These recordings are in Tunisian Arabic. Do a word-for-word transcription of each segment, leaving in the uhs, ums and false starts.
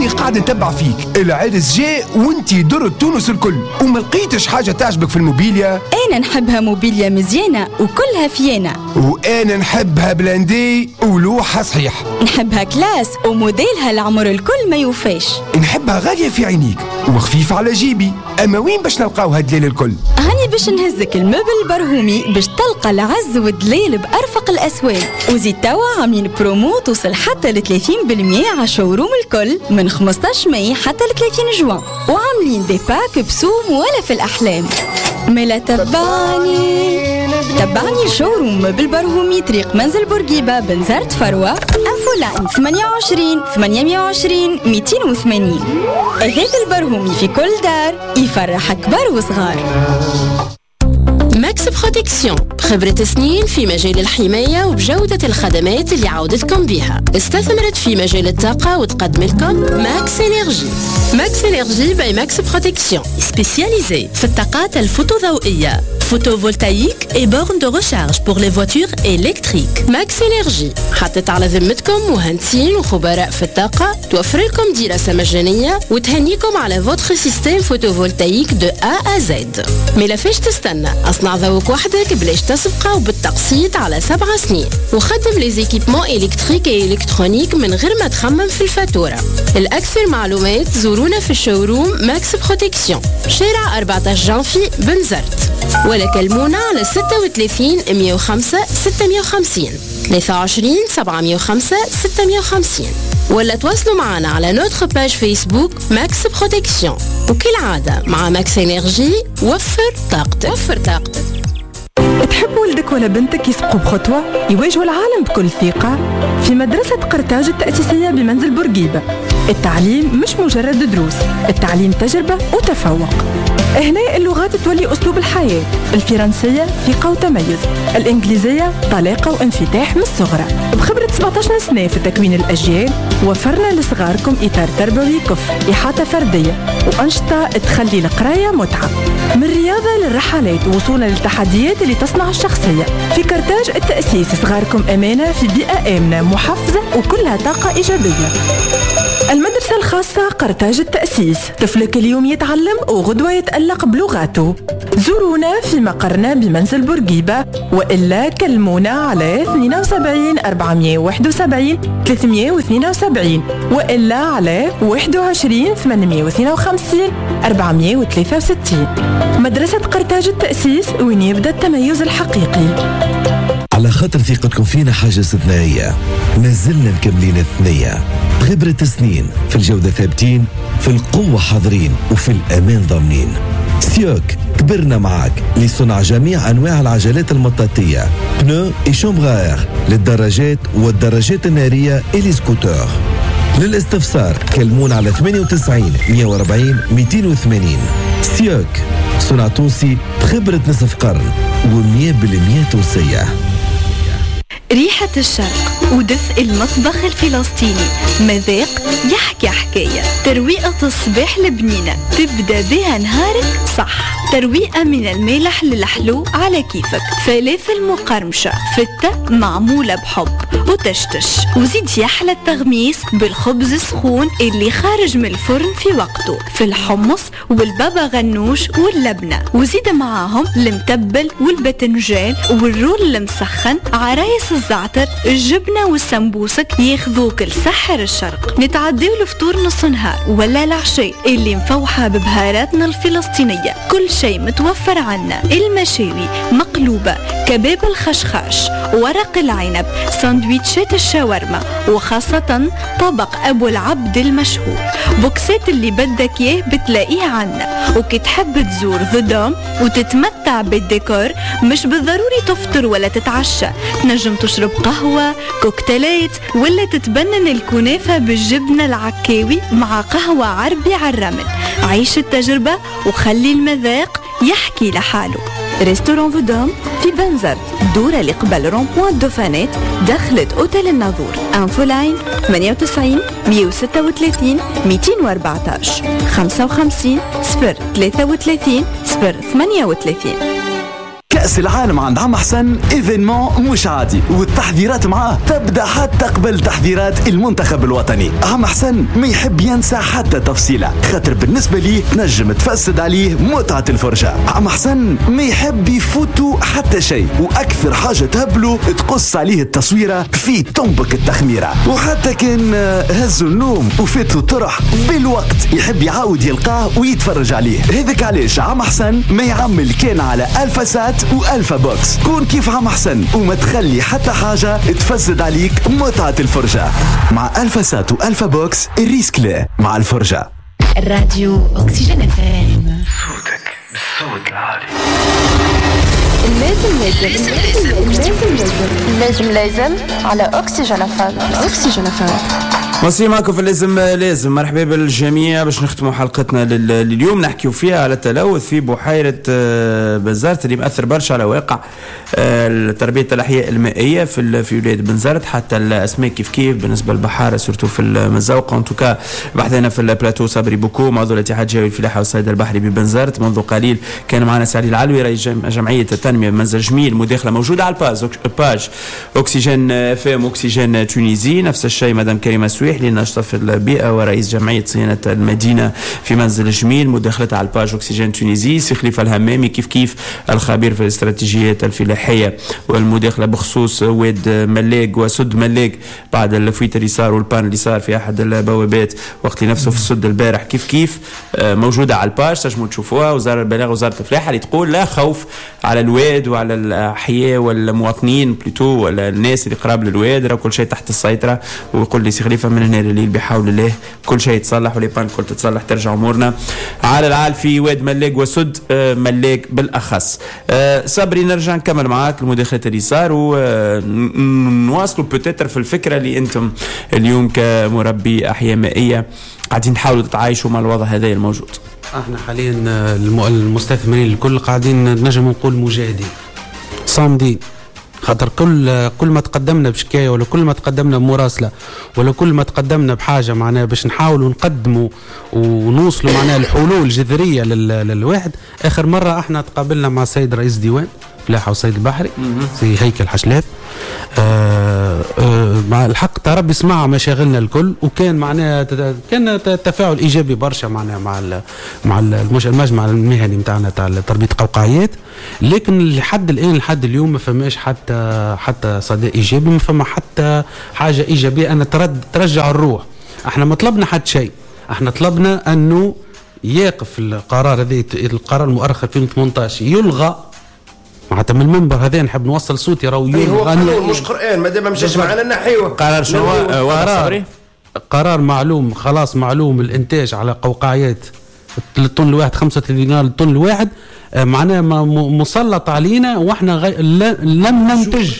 هاني قاعد نتبع فيك، العرس جاء وانتي درت تونس الكل وما لقيتش حاجة تعجبك في الموبيليا. انا نحبها موبيليا مزيانه وكلها فيانه، وانا نحبها blindée ولوحه صحيح، نحبها classe وموديلها العمر الكل ما يوفاش، نحبها غالية في عينيك وخفيفة على جيبي. اما وين باش نلقاو هالدليل الكل؟ هاني باش نهزك ال meuble برهومي باش تلقى العز والدليل بارفق الاسواق، وزيد توا عاملين برومو توصل حتى ل ثلاثين بالمية على showroom الكل من خمسطاش ماي حتى ل ثلاثين جوان، وعاملين des packs بسوم ولا في الاحلام. ملا تبعني تبعني showroom meuble برهومي، طريق منزل بورقيبة، بنزرت فروة. infoline ثمانية وعشرين ثمانمية وعشرين مئتين وثمانين. أثاث البرهومي في كل دار يفرح كبار وصغار. Max Protection بخبرة سنين في مجال الحماية وبجودة الخدمات اللي عودتكم بها، استثمرت في مجال الطاقة وتقدم لكم Max Énergie. Max Énergie by Max Protection spécialisée في الطاقات الفوتوضوئية، photovoltaïque et bornes de recharge pour les voitures électriques. Max Énergie حطت على ذمتكم مهندسين وخبراء في الطاقة توفر لكم دراسة مجانية وتهنيكم على votre système photovoltaïque de A à Z. مالا فاش تستنى؟ اصنع ضوءك وحدك بلاش تسبقة وبالتقسيط على سبع سنين، وخدم les équipements électriques et électroniques من غير ما تخمم في الفاتورة. الأكثر معلومات زورونا في ال showroom Max Protection، شارع أربعطاش جانفي، بنزرت، ولا كلمونا على ستة وثلاثين مية وخمسة ستمية وخمسين، ثلاثة وعشرين سبعمية وخمسة ستمية وخمسين، ولا تواصلوا معنا على notre page Facebook Max Protection. وكالعادة مع Max Énergie، وفر طاقتك، وفر طاقتك. تحب ولدك ولا بنتك يسبقوا بخطوة، يواجهوا العالم بكل ثقة؟ في مدرسة قرطاج التأسيسية بمنزل بورقيبة، التعليم مش مجرد دروس، التعليم تجربة وتفوق. هنا اللغات تولي أسلوب الحياة: الفرنسية ثقة وتميز، الإنجليزية طلاقة وانفتاح من الصغرى. بخبرة سبعطاش سنة في تكوين الأجيال، وفرنا لصغاركم إطار تربوي كفء، إحاطة فردية وأنشطة تخلي القراية متعة، من الرياضة للرحلات وصولا للتحديات اللي تصنع الشخصية. في كرتاج التأسيس، صغاركم أمانة في بيئة آمنة محفزة وكلها طاقة إيجابية. المدرسة الخاصة قرطاج التأسيس، طفلك اليوم يتعلم وغدوة يتألق بلغاته. زورونا في مقرنا بمنزل بورقيبة وإلا كلمونا على اثنين وسبعين أربعمية وواحد وسبعين ثلاثمية واثنين وسبعين وإلا على واحد وعشرين ثمانمية واثنين وخمسين أربعمية وثلاثة وستين. مدرسة قرطاج التأسيس، وين يبدأ التميز الحقيقي. على خاطر ثقتكم فينا حاجة استثنائية، مازلنا مكملين الثنية. خبرة سنين في الجودة ثابتين، في القوة حاضرين، وفي الأمان ضامنين. سيوك، كبرنا معاك، لصنع جميع أنواع العجلات المطاطية، pneus et chambres à air للدراجات والدراجات النارية et les scooters. للاستفسار كلمونا على ثمانية وتسعين مية وأربعين مئتين وثمانين. سيوك، صنع تونسي بخبرة نصف قرن ومية بالمية تونسية. ريحة الشرق ودفء المطبخ الفلسطيني، مذاق يحكي حكاية. ترويقة الصباح البنينة تبدأ بها نهارك صح، ترويقة من المالح للحلو على كيفك، فلافل مقرمشة، فتة معمولة بحب وتشتش، وزيد يحلى التغميس بالخبز السخون اللي خارج من الفرن في وقته، في الحمص والبابا غنوش واللبنة، وزيد معاهم المتبل والبتنجان وال roll المسخن، عرايس الزعتر، الجبنة والسمبوسك ياخذوك لسحر الشرق. نتعديو الفطور نص نهار ولا العشاء اللي مفوحة ببهاراتنا الفلسطينية، كل شيء متوفر عنا: المشاوي، مقلوبة، كباب الخشخاش، ورق العنب، سندويتشات الشاورما، وخاصة طبق أبو العبد المشهور. بوكسات اللي بدك إياه بتلاقيه عنا. وكي تحب تزور The Dome وتتمتع بالديكور، مش بالضروري تفطر ولا تتعشى، تنجم تشرب قهوة، كوكتيلات، ولا تتبنن الكنافة بالجبنة العكاوي مع قهوة عربي على الرمل. عيش التجربة وخلي المذاق يحكي لحاله. restaurant The Dome في بنزرت، دورة اللي قبل rond-point دوفانات، دخلت اوتيل الناظور. infoline ثمانية وتسعين مية وستة وثلاثين مئتين وأربعطاش، خمسة وخمسين صفر ثلاثة وثلاثين صفر ثمانية وثلاثين. كأس كأس العالم عند عم حسن événement مش عادي، والتحضيرات معاه تبدا حتى قبل تحضيرات المنتخب الوطني. عم حسن ما يحب ينسى حتى تفصيله، خاطر بالنسبة ليه تنجم تفسد عليه متعه الفرجة. عم حسن ما يحب يفوتو حتى شيء، واكثر حاجة تهبلو تقص عليه التصويره في طنبك التخميره، وحتى كان هزوا النوم وفاتو طرح بالوقت يحب يعاود يلقاه ويتفرج عليه. هذاك علاش عم حسن ما يعمل كان على ألفا سات وألفا بوكس. كون كيف عم حسن وما تخلي حتى حاجة تفسد عليك متعة الفرجة. مع ألفا سات وألفا بوكس ال risque لا مع الفرجة. الراديو أكسجين اف ام، صوتك بالصوت العالي. لازم لازم لازم لازم لازم على أكسجين اف ام. أكسجين اف ام مصري معكم في اللازم لازم. مرحبا بالجميع باش نختموا حلقتنا لليوم نحكيو فيها على التلوث في بحيرة بنزرت اللي مأثر برشا على واقع تربية الأحياء المائية في في ولاية بنزرت، حتى الأسماك كيف كيف بالنسبة للبحارة surtout في المزوقة. en tout cas بحثنا في البلاتو صبري بوكو عضو الاتحاد الجهوي للفلاحة والصيد البحري ببنزرت. منذ قليل كان معنا سعدي العلوي رئيس جمعية التنمية بمنزل جميل. مداخلة موجودة على ال page page أكسجين اف ام أكسجين Tunisie. نفس الشيء مدام كريمة سويح لناشطة في البيئة ورئيس جمعية صيانة المدينة في منزل جميل، مداخلتها على ال page أكسجين Tunisie. سي خليفة الهمامي كيف كيف الخبير في الاستراتيجيات الفلاحية، والمداخلة بخصوص واد ملاق وسد ملاق بعد ال fuite اللي صار وال panne اللي صار في أحد البوابات وقت اللي نفسه في السد البارح كيف كيف موجودة على ال page تنجموا تشوفوها. وزارة البلاغ وزارة الفلاحة اللي تقول لا خوف على الواد وعلى الأحياء والمواطنين plutôt ولا الناس اللي قراب للواد، راه كل شيء تحت السيطرة. ويقول لي سي خليفة من هنا لليل بحول الله كل شيء يتصلح و les pannes كل تتصلح، ترجع امورنا على العال في واد ملاق وسد ملاق بالاخص. صبري نرجع نكمل معاك المداخلات اللي صار ونواصلوا peut-être في الفكرة اللي انتم اليوم كمربي احياء مائية قاعدين تحاولوا تتعايشوا مع الوضع هذا الموجود. احنا حاليا المستثمرين الكل قاعدين نجم نقول مجاهدين صامدين، خاطر كل كل ما تقدمنا بشكايه ولا كل ما تقدمنا بمراسله ولا كل ما تقدمنا بحاجة معناها باش نحاولوا نقدموا ونوصلوا معناها الحلول جذرية للواحد. اخر مرة احنا تقابلنا مع السيد رئيس ديوان فلاحة والصيد البحري سي هيكل حشلاف، آه آه مع الحق ترى سمع مشاغلنا الكل، وكان معناها كان تفاعل ايجابي برشا معناها مع ال مع المجمع المهني نتاعنا تاع تربيه القوقعيات. لكن لحد الان لحد اليوم ما فماش حتى حتى صدى ايجابي، ما فما حتى حاجة ايجابية ان ترد ترجع الروح. احنا ما طلبنا حتى شيء، احنا طلبنا انه يقف القرار هذا، القرار المؤرخ ألفين وثمانية عشر يلغى. معناتها من المنبر هذا نحب نوصل صوتي راهو هو قانون مش قرآن، ما دام ما مشاش معنا نحيوه. قرار شنو قرار؟ قرار معلوم خلاص، معلوم الانتاج على قوقعيات الطن الواحد خمسة وثلاثين دينار الطن الواحد، معناها مسلط علينا واحنا غي... لم ننتج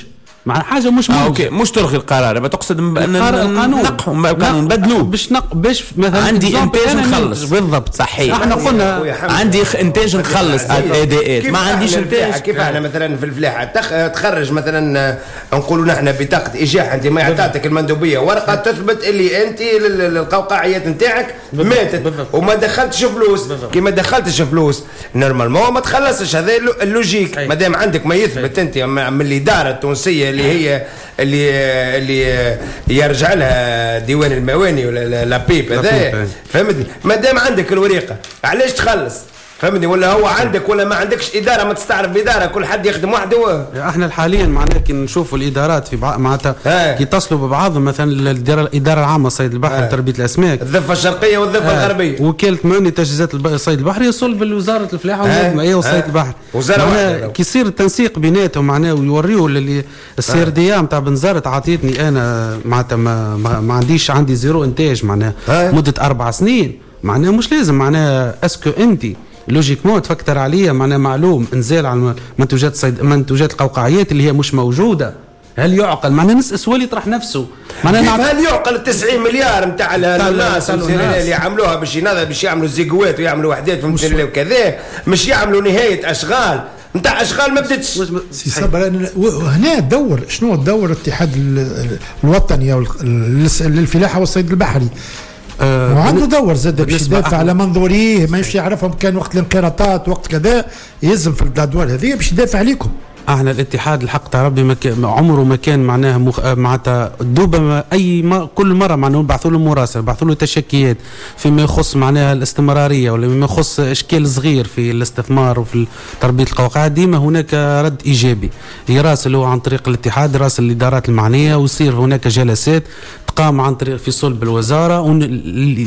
مع حاجة مش آه اوكي مش تلغي القرار، ما تقصد ان القانون نقحوا القانون بدلوه باش نق باش مثلا عندي انتاج نخلص. بالضبط صحيح، احنا قلنا عندي انتاج نخلص اداءات، ما عنديش انتاج. كيف احنا مثلا في الفلاحة تخرج مثلا نقولوا نحن بطاقة ايجاح، انت ما عطاتك المندوبيه ورقة تثبت اللي انت القوقعيات نتاعك ماتت وما دخلتش فلوس. كي ما دخلتش فلوس normalement ما تخلصش، هذا ال logique. ما دام عندك ما يثبت انت من الادارة التونسية اللي هي اللي اللي يرجع لها ديوان المواني ولا l'APIP هذا، فهمتني؟ ما دام عندك الوريقه علاش تخلص؟ فهمتني؟ ولا هو عندك ولا ما عندكش ادارة، ما تستعرف بادارة، كل حد يخدم وحده. احنا حاليا معناها كي نشوفوا الادارات في بعض معناتها كي يتصلوا ببعضهم، مثلا الادارة العامة الصيد البحري وتربيه الاسماك، الضفة الشرقية والضفة الغربية، وكالة مواني تجهيزات الصيد البحري يصل بالوزارة الفلاحة والمائيه والصيد البحري، وزارة كي يصير التنسيق بيناتهم معناها ويوريوا اللي ال CRDA نتاع بنزرت عطيتني انا معناتها ما, ما, ما عنديش، عندي zéro انتاج معناها مده اربع سنين، معناها مش لازم معناها est-ce que انت logiquement تفكر عليا معناها معلوم انزال على منتوجات صيد منتوجات القوقعيات اللي هي مش موجودة. هل يعقل معناها نسال سؤال يطرح نفسه معناها هل يعقل تسعين مليار نتاع الناس اللي عملوها باش ينظر باش يعملوا زيقوات ويعملوا وحدات في وكذا، مش يعملوا نهاية اشغال نتاع اشغال ما بدتش. سي صبر هنا دور شنو دور الاتحاد الوطني للفلاحه والصيد البحري؟ آه وعنده دور زاد باش يدافع على منظوريه، ما يمشي يعرفهم كان وقت الانقراضات وقت كذا، يلزم في الادوار هذه باش يدافع عليكم. احنا الاتحاد الحق تاع ربي ما عمره ما كان معناها مخ... معناتها دوبا اي ما كل مرة معناها نبعثوا له مراسله، نبعثوا له تشكيات فيما يخص معناها الاستمرارية ولا فيما يخص اشكال صغير في الاستثمار وفي تربيه القواقع، ديما هناك رد ايجابي، يراسلوا عن طريق الاتحاد، يراسل الادارات المعنية، ويصير هناك جلسات تقام عن طريق في صلب الوزارة ون...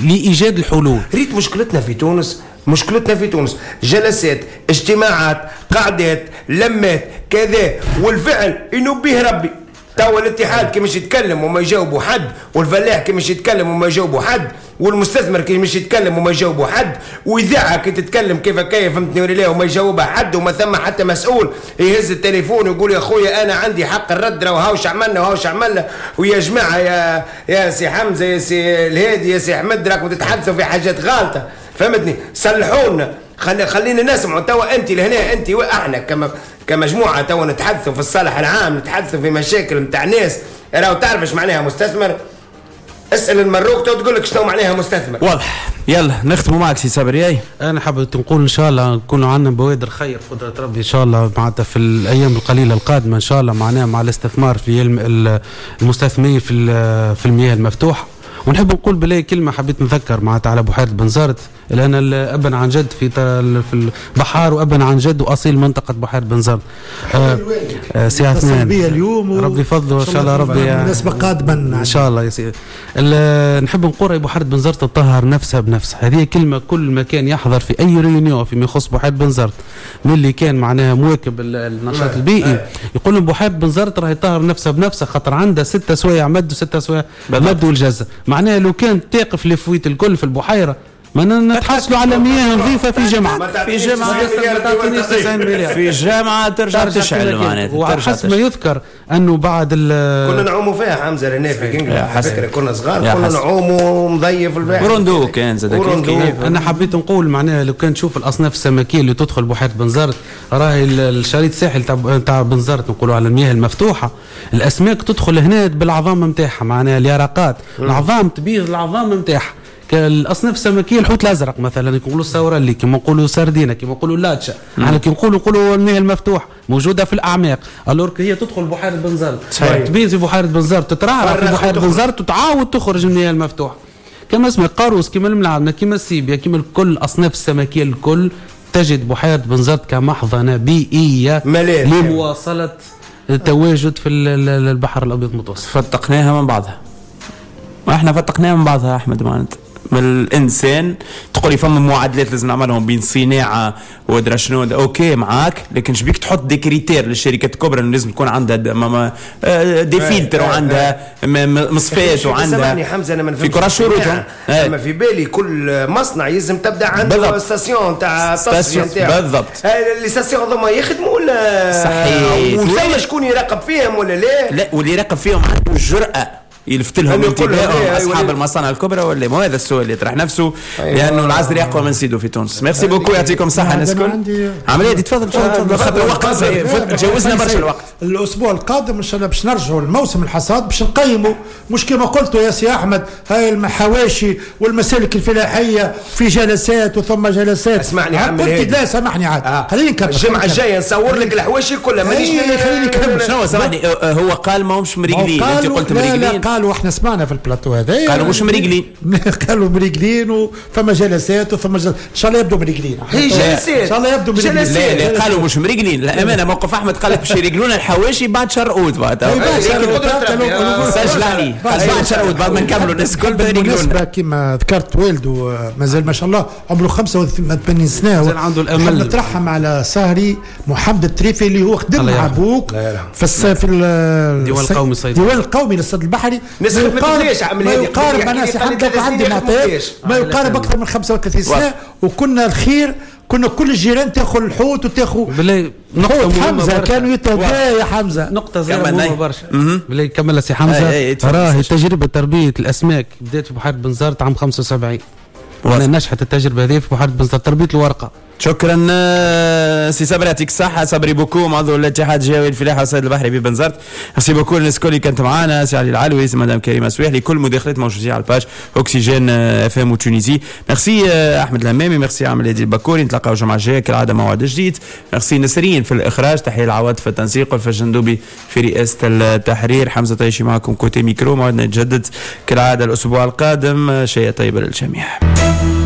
لايجاد الحلول. ريت مشكلتنا في تونس، مشكلتنا في تونس جلسات، اجتماعات، قعدات، لمات، كذا، والفعل ينبيه ربي. توا الاتحاد كي مش يتكلم وما يجاوبوا حد، والفلاح كي مش يتكلم وما يجاوبوا حد، والمستثمر كي مش يتكلم وما يجاوبوا حد، واذاعة كي تتكلم كيف كيف فهمتني ولا لا وما يجاوبها حد، وما ثم حتى مسؤول يهز التليفون ويقول يا خويا انا عندي حق الرد، راهو هاوش عملنا وهاوش عملنا، ويا جماعة يا يا سي حمزة يا سي الهادي يا سي احمد راكم تتحدثوا في حاجات غالطه، فهمتني؟ صلحونا، خلي خلينا نسمعوا. توا انت لهنا انت واحنا كما كمجموعة توا نتحدثوا في الصالح العام، نتحدثوا في مشاكل نتاع ناس، راهو تعرف ايش معناها مستثمر؟ اسال المروك تو تقول لك شنو معناها مستثمر. واضح. يلا نختموا معك سي صبري. انا حابب نقول ان شاء الله نكونوا عندنا بوادر خير قدره ربي ان شاء الله معناتها في الايام القليلة القادمة ان شاء الله، معناها مع الاستثمار في المستثمرين في في المياه المفتوحة. ونحب نقول بلاي كلمة حبيت نذكر معناتها على بحيرة بنزرت، لان ابا عن جد في في البحار وابا عن جد واصيل منطقة بحيرة بنزرت. آه آه سي عثمان اليوم ربي فضله ان شاء الله ربي مناسبة قادمة ان شاء الله يا سيدي. نحب نقول بحيرة بنزرت تطهر نفسها بنفسها، هذه كلمة كل ما كان يحضر في اي réunion فيما يخص بحيرة بنزرت من اللي كان معناها مواكب النشاط البيئي يقول لهم بحيرة بنزرت راهي تطهر نفسها بنفسها، خاطر عندها ستة سوايع مد وستة سوايع مد والجزه، معناها لو كان تقف les fuites الكل في البحيرة ما نتحصلوا على مياه نظيفة في جمعه في جمعه في جمعه ترجع تشعل معناتها. وحسب ما يذكر انه بعد كنا نعوموا فيها حمزة لهنا في كينغ، فكرة كنا صغار كنا نعوموا مضيف البحر وروندو كان زاد كيف. انا حبيت نقول معناها لو كان تشوف الاصناف السمكيه اللي تدخل بحيرة بنزرت، راهي الشريط الساحل تاع تاع بنزرت نقولوا على المياه المفتوحة، الاسماك تدخل هنا بالعظام نتاعها، معناها اليرقات العظام تبيض العظام نتاعها. الاصناف السمكيه الحوت الازرق مثلا نقولوا السورالي، كما نقولوا سردينه، كما نقولوا لاتشا، احنا كي نقولوا نقولوا المياه المفتوح موجودة في الاعماق، alors هي تدخل بحيرة بنزرت، تبيض في بحيرة بنزرت، تترعرع في بحيرة بنزرت وتعاود تخرج من المياه المفتوحة. كما اسمه القاروس، كما الملعبنه، كما السيبيا، كما كل الاصناف السمكيه الكل تجد بحيرة بنزرت كمحضنه بيئية لمواصلة التواجد في البحر الابيض المتوسط. فتقناها من بعضها، احنا فتقناها من بعضها احمد معناتها من الانسان تقولي فما معادلات لازم نعملهم بين صناعة ودرا شنو، OK معاك، لكن شبيك تحط des critères للشركات الكبرى انه لازم تكون عندها des filtres وعندها مصفات وعندها. سامحني حمزة انا ما في كراس شروطهم، اما في بالي كل مصنع يلزم تبدا عنده station تاع التصفية نتاعو. بالضبط. les stations هذوما يخدموا ولا صحيح، وثم شكون يراقب فيهم ولا لا؟ لا، واللي يراقب فيهم عنده الجرأة يلفت لهم انتباههم اصحاب المصانع الكبرى ولا ما؟ هذا السؤال اللي يطرح نفسه. أيوة. لانه العزل اقوى من سيدو في تونس. merci beaucoup، يعطيكم الصحة الناس الكل. عملية تفضل تفضل خاطر الوقت تجاوزنا برشا الوقت. الاسبوع القادم ان شاء الله باش نرجعوا لموسم الحصاد باش نقيموا، مش كما قلتوا يا سي احمد هاي المحواشي والمسالك الفلاحية في جلسات وثم جلسات. اسمعني عم قلت لا سامحني عاد آه. خليني نكمل. الجمعة الجاية نصور لك الحواشي كلها مانيش خليني نكمل. شنو سامحني هو قال ماهمش مريقلين، انت قلت مريقلين. قالوا احنا سمعنا في البلاتو هذا قالوا مش مريقلين، قالوا مريقلين وفما جلسات وثم جلسات. ان شاء الله يبدو مريقلين. هي جلسات ان شاء الله يبدو مريقلين. لا لا قالوا مش مريقلين. الامانة موقف احمد قال لك باش يريقلونا الحواشي بعد شهر اوت، بعد سجل عليه بعد شهر اوت بعد ما نكملوا الناس الكل بالمناسبة. كما ذكرت والده مازال ما شاء الله عمره خمسة وثمانين سنة، مازال عنده الامل. نترحم على سهري محمد التريفي اللي هو خدم مع ابوك في في الديوان القومي الصيد، الديوان القومي للصيد البحري. ما يقارب انا سي حمد عندي معطيات ما يقارب اكثر من خمسة وثلاثين سنة، وكنا الخير كنا كل الجيران تاخذ الحوت وتاخذ بالله. نقطة حمزة كانوا يتهدى يا حمزة. نقطة صغيرة مهمة برشا بالله كمل سي حمزة. راهي تجربه تربيه الاسماك بدات في بحيرة بنزرت عام خمسة وسبعين، وانا نجحت التجربة هذه في بحيرة بنزرت تربيه الورقة. شكرا آه، سي صبري، يعطيك الصحة صبري بوكوم، عضو الاتحاد الجهوي للفلاحة والصيد البحري ببنزرت. merci beaucoup الناس الكل اللي كانت معنا، سي علي العلوي، سي مدام كريمة سويحلي، كل المداخلات موجودين على ال page Oxygène FM Tunisie. merci آه، احمد الهمامي، ميرسي عمل هادي البكوري. نتلاقاو الجمعة الجاية كالعادة موعد جديد. ميرسي نسرين في الاخراج، تحية العواد في التنسيق، والفجندوبي في رئاسة التحرير، حمزة طيشي معكم côté micro. موعدنا يتجدد كالعادة الاسبوع القادم. شيء طيب للجميع.